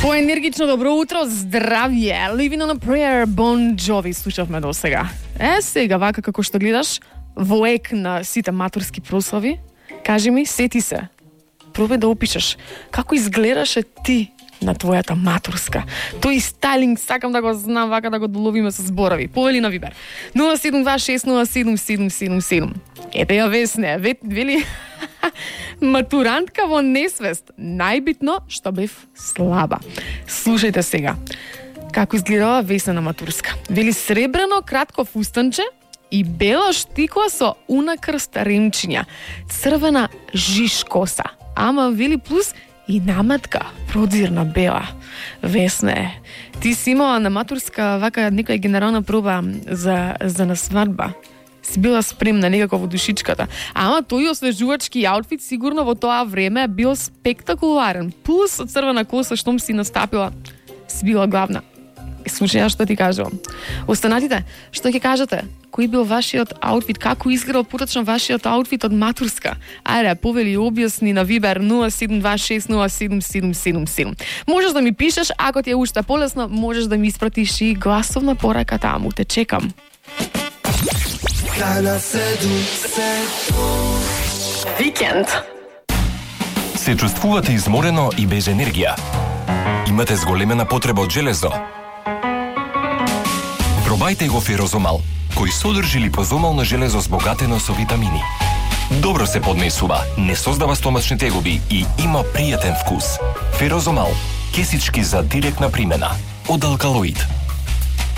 Поенергично добро утро, здравје. Living on a prayer, Bon Jovi слушавме до сега. Сега вака како што гледаш во ек на сите матурски прослави, кажи ми, сети се. Пробај да опишеш како изгледаше ти на твојата матурска. Тој стайлинг сакам да го знам, вака да го доловиме со зборови. Повели на Вибер. 072607777. Ете ја Весне, вели матурантка во несвест. Најбитно што бев слаба. Слушајте сега. Како изгледала Весна на матурска. Вели сребрено кратко фустанче и бела штикла со унакрст ремчиња. Црвена жиш коса. Ама вели плюс и наматка, продзирна бела. Весне, ти си имала на матурска вака некоја генерална проба за на свадба. Си била спремна некако во душичката. Ама тој освежувачки аутфит сигурно во тоа време бил спектакуларен. Плюс црвена коса штом си настапила, си била главна. Слушај што ти кажувам. Останатите, што ќе кажете? Кој бил вашиот аутфит? Како изгледал поточно вашиот аутфит од матурска? Ајде, повели објасни на Вибер 072607777. Можеш да ми пишеш, ако ти е уште полесно, можеш да ми испратиш и гласовна порака таму. Те чекам. Викенд. Се чувствувате изморено и без енергија? Имате зголемена потреба од железо? Пробајте го Ферозомал, кој содржи липозомално железо збогатено со витамини. Добро се поднесува, не создава стомачни тегоби и има пријатен вкус. Ферозомал, кесички за директна примена. Од Алкалоид.